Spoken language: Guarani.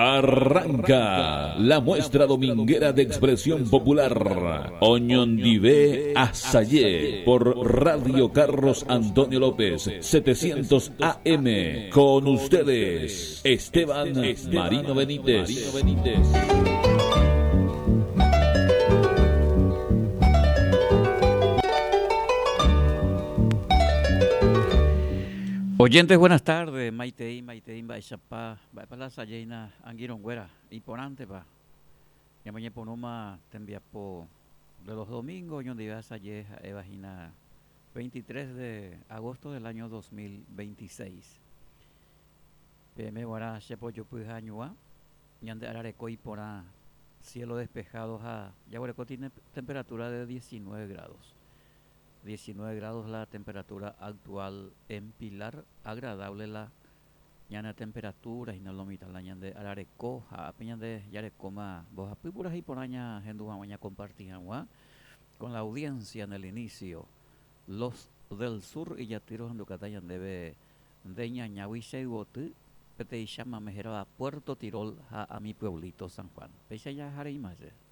Arranca la muestra dominguera de expresión popular Oñondive Asayé por Radio Carlos Antonio López 700 AM. Con ustedes, Esteban Marino Benítez. Oyentes, buenas tardes. Maitei, Maitei, Mba'éichapa, mba'épa la asajeína angirũnguéra iporãntepa. Ñamoñepyrũma tembiapo de los domingos oñondive asaje ha'éva hína 23 de agosto del año 2026. Peẽme guarã che pojopy ha añuã, ñande arareko iporã, cielo despejado ha jaguereko tiene temperatura de 19 grados. 19 grados la temperatura actual en Pilar, agradable la ñane temperatura hína lo mitã la ñande arareko ha ápe ñande jarekóma mbohapy purahéi porã ñahendu hag̃ua ñakomparti hag̃ua con la audiencia en el inicio Los del Sur ijaty rohendukáta ñandéve nde ñañágui che yvoty peteĩcháma mehérava Puerto Tirol ha a mi pueblito San Juan. Péicha jahareíma che.